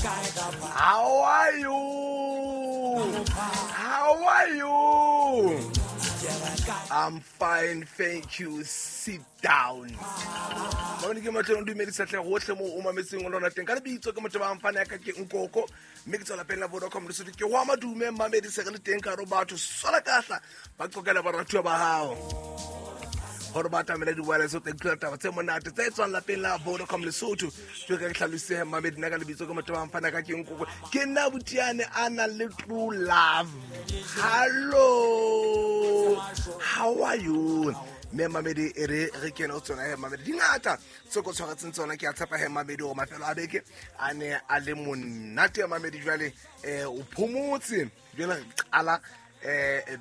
How are you? How are you? I'm fine, thank you. Sit down. Mamedi, ke matleng o dumedisa tlhe gotlhe mo o mametseng o lona teng ka lebitso ke motho ba mfane ya ka ke Nkoko, mme ke tswa lapeng la Vodacom Lesotho. Ke go ama dume mamedi, se re le teng ka ro batho sola kahla ba qokela baratuwa ba gago gore ba atamele di-wireless, o tla utlwela taba tse monate tse tswang lapeng la Vodacom Lesotho. Jo ka ke tlhalosege mamedi, nna ka lebitso ke motho ba mfana ka ke Nkoko, ke nna botiane a nang le true love. Hello, how are you? Mme mamedi, e re re kene o tsona he mamedi, di ngata tse ko tshwaretseng tsona. Ke a tshepa he mamedi gore mafelo a beke a ne a le monate ya mamedi. Jwale o phomotse, jwale re qala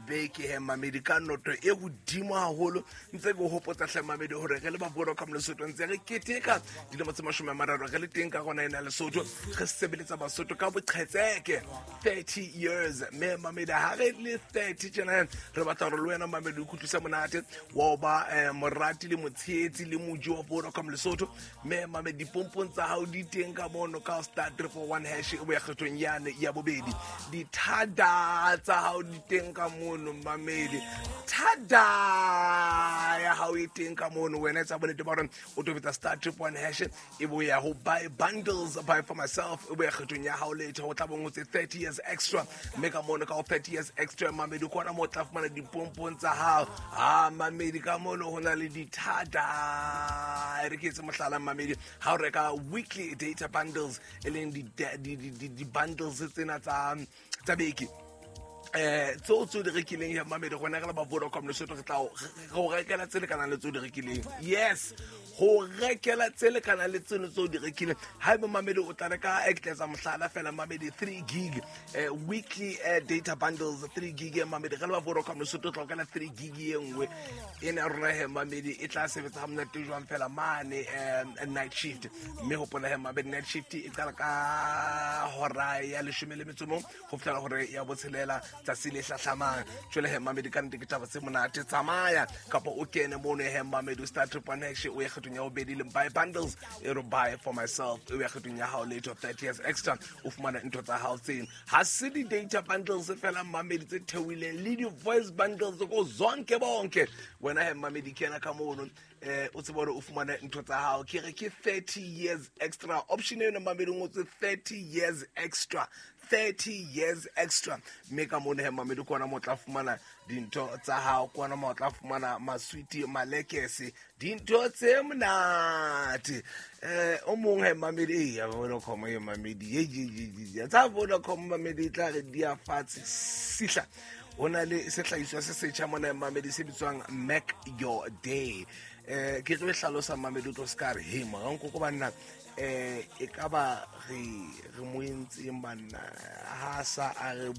beke he mamedi ka noto e godimo haholo. Ntse ke hopotsa hle mamedi gore re le ba Vodacom Lesotho ntse re keteka dilemo tse 30 re le teng ka gona ena Lesotho, re sebeletsa Basotho ka boqhetseke, 30 years. Mme mamedi, ha re le 30 tjena, re batla gore le wena mamedi o kutlwisa monate wa ho ba morati le motshehetsi le moji wa Vodacom Lesotho. Mme mamedi, dipompong tsa hao di teng ka mono ka *341# e boya kgethong yane ya bobedi. Dithada tsa hao di teng ka mono mamedi, thada ya hao e teng ka mono. Wena etsa bonnete ba gore o tobetsa *111# e boya ho buy bundles, buy for myself, e boya kgethong ya hao letho go tla bong tse 30 years extra. Mme ka mono ka ho 30 years extra mamedi, kona mo o tla fumana dipompong tsa hao. A mamedi, ka mono ho na le dithada. E re ke etse mohlala mamedi, ha o reka weekly data bundles, e leng di-bundles tsena tsa beke, tseo tse o di rekileng ya mamedi, gona re le ba Vodacom Lesotho re tla go rekela tse lekanang le tse o di rekileng. Yes, go rekela tse lekanang le tseno tse o di rekileng. Ha ebe mamedi o tla reka, e ke tla etsa mohlala fela mamedi, 3 gig weekly data bundles, 3 gig ya mamedi, re le ba Vodacom Lesotho tla rekela 3 gig ye nngwe ena ya rona he mamedi, e tla sebetsa ga monate jwang fela mane night shift. Mme hopola he mamedi, night shift e qala ka hora ya 11 go fitlhela gore ya botshelela tsatsi le hlahlamang. Jwale he mamedi, ka nnete ke taba tse monate. Tsamaya kapa o kene mono he mamedi, o *111#, o ye kgethong ya bobedi leng buy bundles, e re buy for myself, e o ya kgethong ya hao letho 30 years extra, o fumana ntho tsa hao tseno. Ha se di-data bundles fela mamedi tse theohileng, le di-voice bundles ko zonke bonke. Wena he mamedi, kena ka mono o tsebe hore o fumane ntho tsa hao. Ke re ke 30 years extra option eno mamedi, o ngotswe 30 years extra, 30 years extra. Mme ka mono he mamedi, ke ona mo o tla fumana dintho tsa hao, ke ona mo o tla fumana maswiti, malekese, dintho tse monate. O mong he mamedi, e ya Vodacom e mamedi, ye ye ye ye tsa Vodacom mamedi, e tla re di a fatshe sihla. Ho na le sehlahiswa se setjha mona mamedi se bitswang Make Your Day. Ke tlo e hlalosa mamedi, o tlo se ka re he mora Nkoko banna, e ka ba re mo entseng banna ha sa a re.